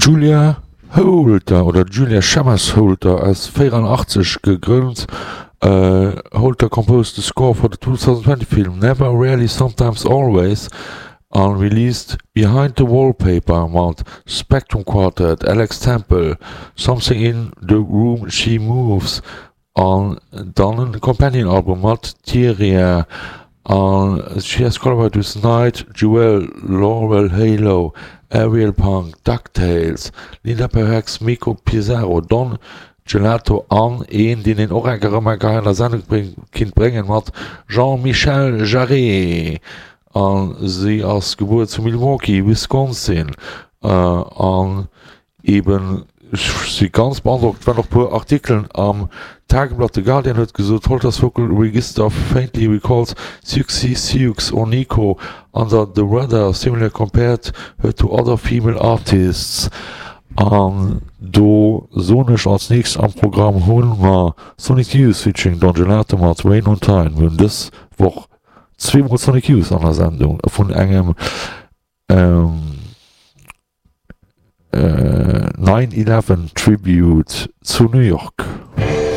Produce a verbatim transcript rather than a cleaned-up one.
Julia Holter oder Julia Chammas Holter ass véieranachtzesch gegrënnt. Holter composed the score for the twenty twenty film Never Rarely Sometimes Always an released Behind the Wallpaper mat Spectrum Quartet, Alex Temple, Something in the Room She Moves an dann e Companion Album mat Tyria an she has collaborated with Night Jewel, Laurel Halo, Aerial Punk, Ducktales, Linda Perhacs, Miko Pizarro, Don Gelato an een deen een och enker erëm enker hei an der Sendung kinnt bréngen mat Jean-Michel Jarre an si ass gebuer zu Milwaukee, Wisconsin an eben ech si ganz beandrockt, waren och puer Artikelen am Tageblatt. The Guardian huet gesot, Holter's vocal register faintly recalls Siouxsie Sioux or Nico Under the Weather, similarly compared her to other female artists. An do soen ech, als nächst am Programm hu mer Sonic Youth featuring Don Gelato mat Rain on Time. Mir hunn dës Woch zweemol Sonic Youth an der Sendung vun engem Nine Eleven Tribute zu New York.